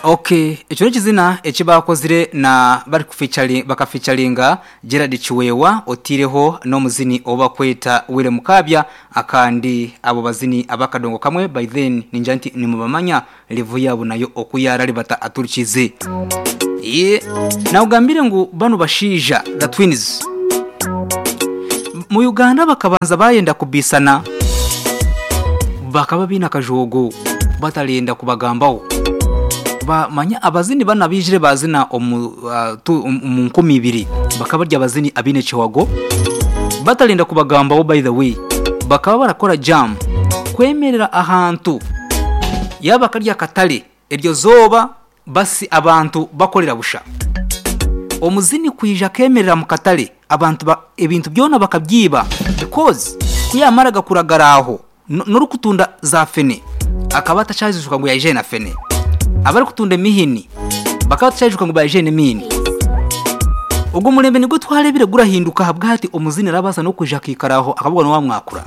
Okay, ekyo n'ekizina eki baakozire na bari kufeaturing bakafeaturinga Gerald Kiweewa otaireho n'omuzini ou barikweta Willy Mukaabya akandi abo bazini ab'akadongo kamwe by then ningira nti nimubamanya level yaabo nayo oku yaararibata aturikize. Ye naakugambire ngu banu bashaija the twins mu Uganda bakabanza baayenda kubaisana bakaba baine akajoogo batarenda kubagambaho. Manya abazini banu abaijire baazina omu omu 2000 bakaba bari abazini abaine ekihago batarenda kubagambaho by the way bakaba barakora jam kwemerera ahantu yaaba kari akatare eryo zooba basi abantu bakorera busha. Omuzini kwija akemerera omu katare abantu ebintu byona bakabyiba because ku yaamaraga kuragara aho n'orikutunda za fene akaba atakyazijuka ngu yaija aine fene. Abarikutunda emihini bakaba batakyayijuka ngu baija aine emihini. Ogwo murembe nigwo twareebire gurahinduka ahabw'ahati omuzini arabaasa n'okwija akaikara aho akabugwa n'owamwakura.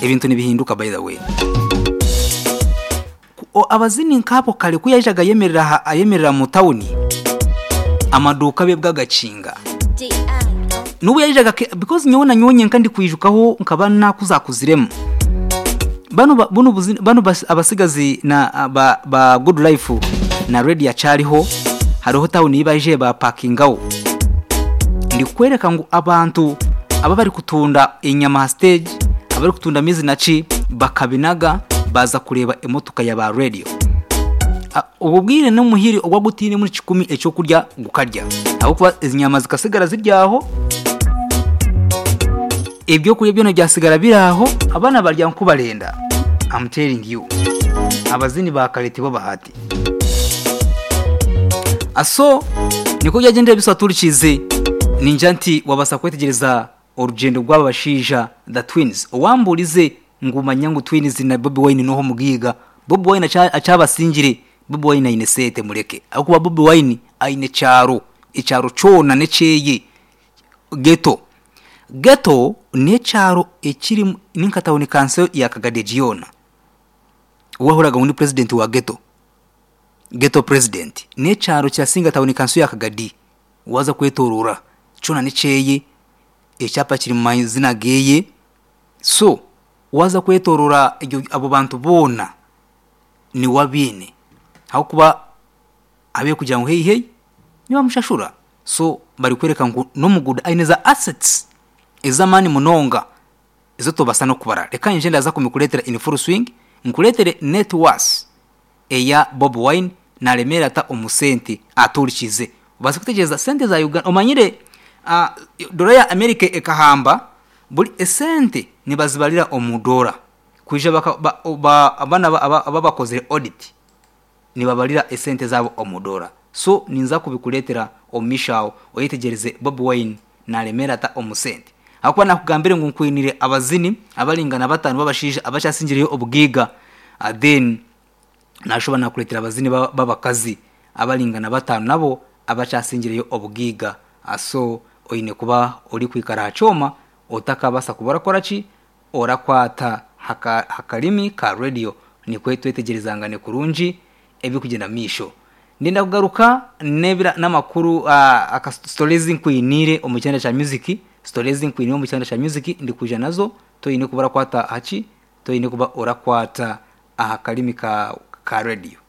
Ebintu nibihinduka by the way. Abazini nk'abo kare ku yaijaga ayemerera aha ayemerera mu tawuni amaduuka abeebwa agakinga. N'obu yaijaga because nyowe na nyowe nyenka ndikwijukaho nkaba naakuzakuziremu. Banu bunu banu abasigazi na ba ba Good Life na Radio akyariho hariho tawuni ei baijire baapakingaho. Ndikukworeka ngu abantu aba abarikutunda enyama aha siteegi, abarikutunda amaizi na ki bakabinaga baaza kureeba emotoka ya ba Radio. Obwo bwire n'omuhiri ogu agutainemu kikumi eky'okurya gukarya ahabw'okuba enyama zikasigara ziri aho, ebyokurya byona byasigara biri aho, abaana barya nk'oku barenda. I'm telling you. Abazini ba kare tibo bahati. So nikwo byagyendire biswa turikize ningira nti wabaasa kwetegyereza orugyendo rw'aba bashaija the twins. Owambuurize ngu manya ngu twins na Bobi Wine n'oha omugaiga, Bobi Wine akyabasingire, Bobi Wine aine sente mureke ahabw'okuba Bobi Wine aine ekyaro, ekyaro kyona n'ekyeye, ghetto. Ghetto n'ekyaro ekirimu ninka tawuni kanso ya Kagadi egi yoona. Owahuriraga ngu ni purezidenti wa ghetto, ghetto president, n'ekyaro kirasinga tawuni kanso ya Kagadi waaza kwetoroora kyona n'ekyeye, ekyapa kiri mu mazina geeye, so waaza kwetoroora abo bantu boona niwe abaine ahabw'okuba abe kugira ngu hei hei nibamushashura so barikworeka ngu n'omuguuda aine za assets ez'amaani munonga ezi otobaasa n'okubara. Reka nyije ndaza kumikureetera in full swing nkureetere net worth eya Bobi Wine naremeera ata omu sente atuurikize obaase kutegyereza sente za Uganda omanyire doora ya America ekahamba buri esente nibazibarira omu doora kwija banu ababakozire audit nibabarira esente zaabo omu doora so ninza kubikureetera omu maisho aho oyetegyereze Bobi Wine naremeera ata omu sente ahabw'okuba nakugambire ngu nkwiniire abazini abaringana bataano b'abashaija abakyasingireyo obugaiga then Naashuba naakureetera abazini b'abakazi abaringana bataano nabo abakyasingireyo obugaiga. So oine kuba orikwikara aha kyoma otakabaasa kuba orakora ki? Orakwata aha karimi ka radiyo nikwo twetegyerezangane kurungi ebirikugyenda omu maisho. Ndenda kugaruka n'amakuru sitoore ezi nkwiniire omu kyanda kya music, sitoore ezi nkwiniire omu kyanda kya music ndikwija nazo, toine kuba orakwata aha ki? Toine kuba orakwata aha karimi ka ka radiyo.